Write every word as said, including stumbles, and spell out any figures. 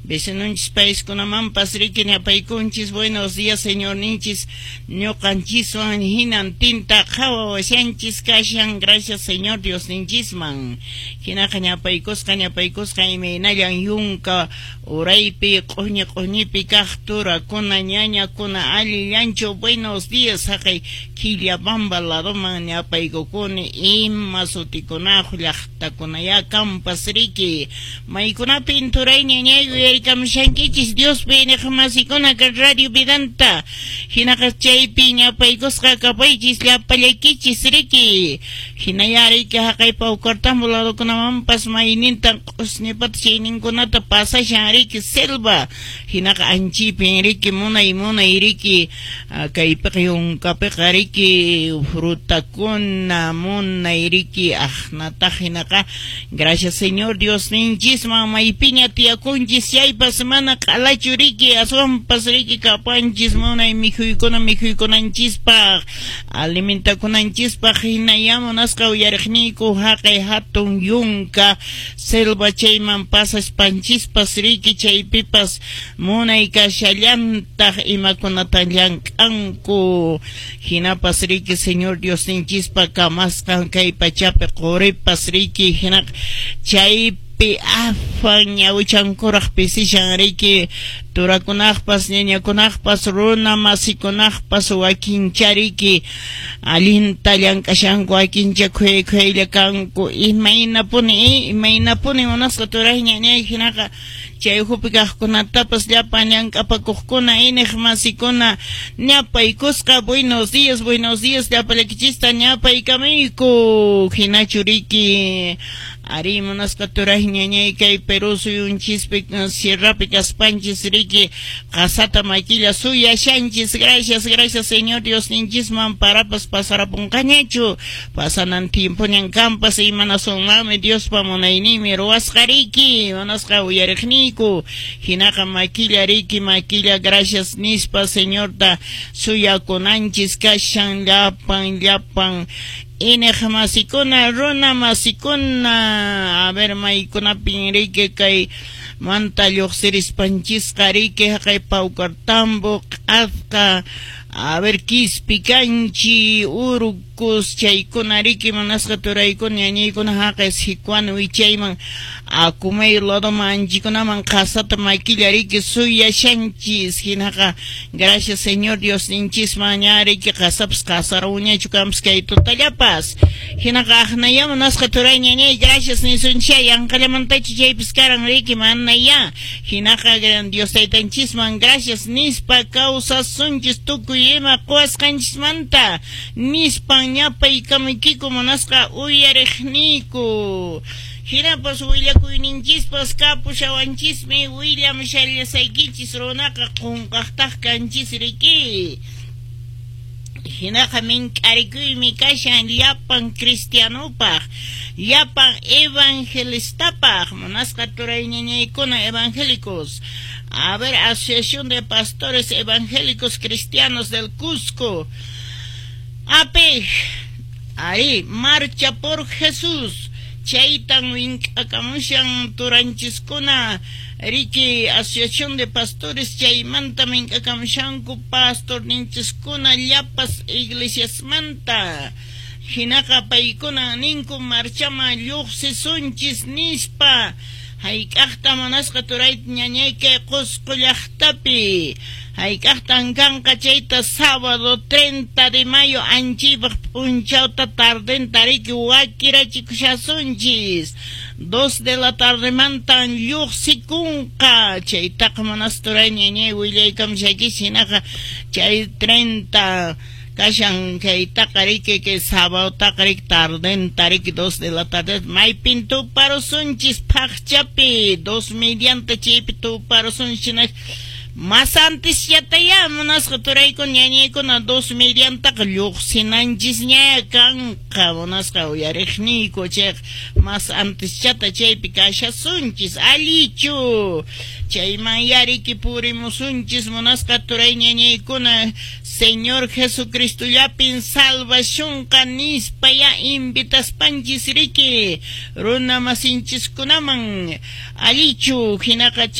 Vecinonchis paiskunamanpas riki ñapaykunchis. Buenos días, Señor ninchis, ñuqanchiswan hinantinta qhawawashanchis kashan. Gracias, Señor Dios ninchisman. Hinaqa ñapaykusqa, ñapaykusqa imaynallan yunka uraypi q'uñi q'uñipi kaq turakuna ñañakuna allillanchu. Buenos días, haqay Quillabamba ladoman ñapaykukuni ima sutikunaq llaqtakunaya kampas riki maykunapin turay ñañay uyarikamushankichis Diospi iñiqmasikuna kay Radio Vidanta. Hinaqa chaypi ñapaykusqa kapaychis llapallaykichis riki. Hinaya riki haqay Paucartambo ladokunamanpas maynintan q'usñipata chayninkunata pasashan riki selva. Hinaqa anchipin riki munay munay riki kaypiqa yunkapiqa riki frutakuna munay riki aqnataq. Hinaqa gracias, Señor Dios ninchisman maypiña tiyakunchis chaypas mana q'alachu riki, aswanpas riki kapanchis munay mikhuykuna mikhuykunanchispaq alimentakunanchispaq. Hinaya munasqa uyariqniyku haqay hatun yunka selva chayman pasaspanchispas riki chaypipas munay kashallantaq imakunata llank'anku. Hinapas riki Señor Dios ninchispa kamasqan kay pachapi quripas riki hinaqa chaypi afan ñawichankuraq pisishan riki turakunaqpas ñañakunaqpas runa masikunaqpas wakincha riki allinta llank'ashanku wakincha khuyay khuyaylla kanku imaynapuni imaynapuni munasqa turay ñañay. Hinaqa chay ukhupi kaqkunatapas llapan llank'apakuqkuna iñiq masikuna ñapaykusqa. Buenos días, buenos días, llapallaykichista ñapaykamuyku. Hinachu riki ari munasqa turay ñañay kay Perú suyunchispi sierrapi kaspanchis riki qasata makilla suyashanchis. Gracias, gracias, Señor Dios ninchisman parapas pasarapunqañachu pasanan tiempoñan kampas imanasunmanmi Diospa munayninmi ruwasqa riki munasqa uyariqniyku. Hinaqa makilla riki makilla gracias nispa Señorta suyakunanchis kashan llapan llapan iñiq masikuna runa masikuna. A ver maykunapin riki kay manta lluqsirispanchisqa riki haqay Paucartambo q'asqa a ver Quispicanchi Urcos chaykuna riki munasqa turaykuna ñañaykuna haqay Sicuani wichayman Akumay ladoman anchikunaman qasata makilla riki suyashanchis. Hinaqa gracias, Señor Dios ninchisman ña riki qasapas qasaruñachu kampas kay tutallapas. Hinaqa aqnaya munasqa turay ñañay gracias nisuncha yanqallamantachu chaypis karan riki manaya. Hinaqa gran Dios taytanchisman gracias nispa kawsasunchis tukuy ima quwasqanchismanta nispan ñapaykamuykiku munasqa uyariqniyku. Hinapas willakuyninchispas kapushawanchismi willamshallasaykichis runaqa qunqaqtaq kanchis riki. Hinaqa mink'arikuymi kashan llapan cristianopaq llapan evangelistapaq munasqa turay ñañaykuna evangélicos. A ver, Asociación de Pastores Evangélicos Cristianos del Cusco A P ahí Marcha por Jesús chaytan mink'akamushan turanchiskuna riki Asociación de Pastores chaymanta mink'akamushanku pastor ninchiskuna llapas iglesiasmanta. Hinaqa paykuna ninku marchaman lluqsisunchis nispa hayk'aqta munasqa turay ñañay kay Qusqu llaqtapi hayk'aqtan kanqa chayta sábado treinta de mayo anchipaq p'unchawta tardenta riki wakirachikushasunchis dos de la tardemantan lluqsikunqa chaytaqa munasqa turay ñañay willaykamushaykichis. Hinaqa chay treinta kashan kaytaqa riki kay sábadotaqa riki tardenta riki dos de la tarde maypin tuparusunchis phaqchapi dos mediante chaypi tuparusunchis. Mas antes yataya munasqa turaykuna ñañaykuna dos mediantaqa lluqsinanchisña kanqa munasqa uyariqniyku chayqa mas antes chata chaypi kashasunchis allichu. Chayman yariki purimusunchis munasqa turay ñañaykuna, Señor Jesucristollapin salvacionqa nispa ya invitaspanchis riki runa masinchiskunaman, allichu? Hinaqa